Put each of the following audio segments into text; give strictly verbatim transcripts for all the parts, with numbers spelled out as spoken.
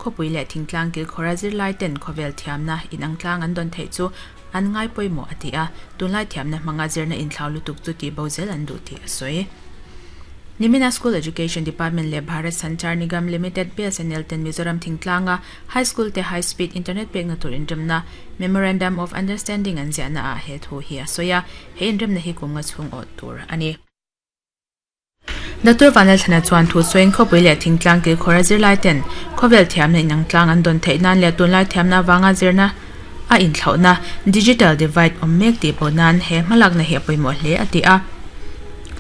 Khawpui leh thingtlang kilkhawra zirlai ten khawvel thiamna inang tlang an dawn theih chu an ngai pawimawh a ti a, tunlai thiamna hmanga zirna inthlau lutuk chu tih bo zel an duh tih a sawi. Nimina School Education Department leh Bharat Sanchar Nigam Limited B S N L ten Mizoram thingtlanga High School te high speed internet pekna tur inremna Memorandum of Understanding an ziahna ah he thu hi a sawi a, he inremna hi kum nga chhung awh tur a ni. Doctor Vanlalthlana chuan thu sawiin khawpui leh thingtlang kilkhawra zirlai ten khawvel thiamna inang tlang an dawn theih nan leh tunlai thiamna avanga zirna a inthlauhna digital divide awm mek tih pawh nan he hmalakna hi a pawimawh hle a ti a.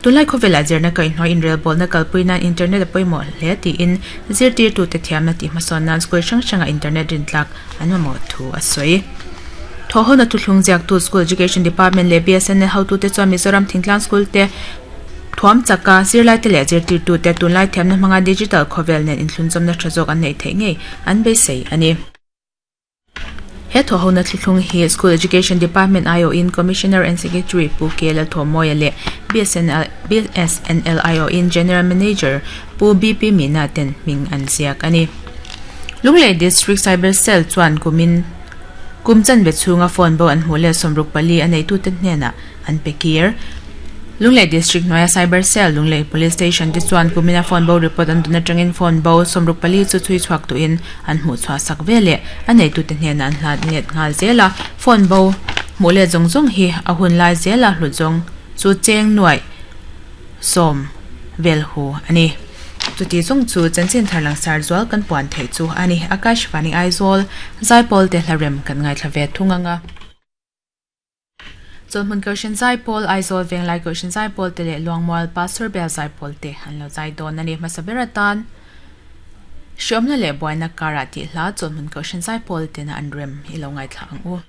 Tunlai khawvelah zirna kaihhnawih inrelbawlna kalpui nan internet a pawimawh hle tiin zirtirtute thiamna tih hmasawn nan school hrang hranga internet rintlak an mamawh thu a sawi. Thawhhawna thuthlung ziaktu School Education Department leh B S N L hotute chuan Mizoram Thingtlang School te thuam chaka zirlai te leh zirtirtute tunlai thiamna hmanga digital khawvel nen inthlunzawmna tha zawk an neih theih ngei an beisei a ni. He thawhhawna thuthlung hi School Education Department I O in Commissioner and Secretary Pu K Lalthawmawia leh B S N L B S N L I O in General Manager Pu B P Meena ten hming an ziak a ni. Lunglei District Cyber Cell chuan kumin kum chanve chhunga phone bo an hmuh leh sawmruk pali a neitute hnenah an pe kir. Lunglei District hnuaia Cyber Cell Lunglei Police Station te chuan kumina phone bo report an dun atangin phone bo sawmruk pali chu chui chhuak tuin an hmuh chhuah sak ve leh a neitute hnenah an hlat let nghal zel a, phone bo hmuh leh zawng zawng hi a hun lai zela hlut zawng chu cheng nuai sawm vel hu a ni. Chuti zawng chu chanchin thar langsar zual kan puan theih chu a ni. Akashvani Aizawl Zaipawl te hlarem kan ngaithla ve thung anga. Chawlhmun Kohhran Zaipawl Aizawl Venglai Kohhran Zaipawl te leh Luangmual Pastor Bel Zaipawl te an lo zai dawn a ni. Hmasa ber atan hriawmna leh buaina karah tih hla Chawlhmun Kohhran Zaipawl tena an rem i lo ngaithla ang u.